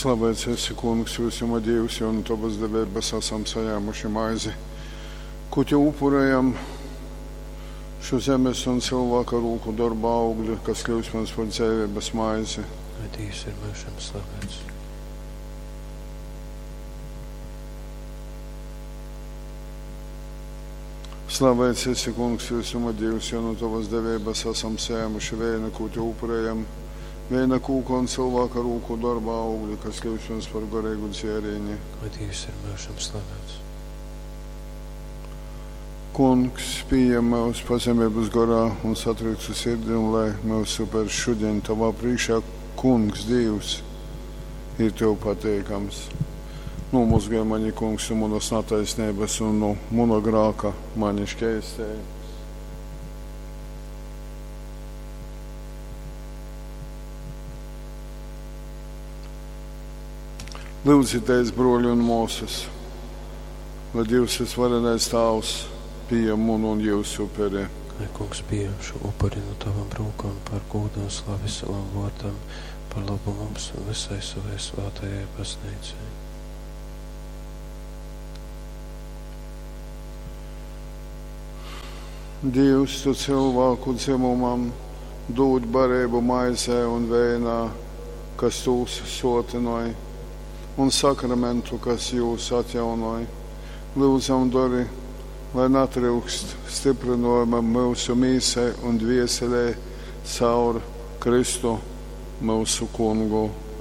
Slavēts esi, Kungs, vysuma Dīvs, jo nu tovas deveibas asam sajēmuši maizi, kū tev upurējam, šo zemes un cilvēka rūku dorba augļu, kas kļūst mums par dzeiveibas maizi. Lai Dievs ir myužam slavēts. Slavēts esi, Kungs, visuma Dievs, jo no tavas deveibas esam sējumuši vēju, ko te upurējam, vēja kūka un cilvēka rūku darba augļi, kas kļūst mums par garīgu dzērieni. Lai Dievs ir myužam slavēts. Kungs, pieņem mūs pazemības garā un satriektu sirdi, un lai mūsu upers šodien tavā priekšā, Kungs, Dievs, ir tev pateikams. Nomazgāj mani, Kungs, no manas netaisnības un no mana grāka mani šķēstēji. Lūdzieties, broļi un māsas, lai Dievs visvarenais Tāvs pieņem manu un jūsu uperi. Lai Kungs pieņem šo upuri no tavām rokām par godu un slavi savam vārdam, par labu mums un visai savai svētajai baznīcai. Dievs, tu cilvēku dzimumam dod barību maizē un veinā, kas tūs sotinoja, un sakramentu, kas jūs atjaunoja. Lūdzam, dori, lai natryukst stiprinojuma mūsu mīsai un dvieselē caur Kristu mūsu kungu.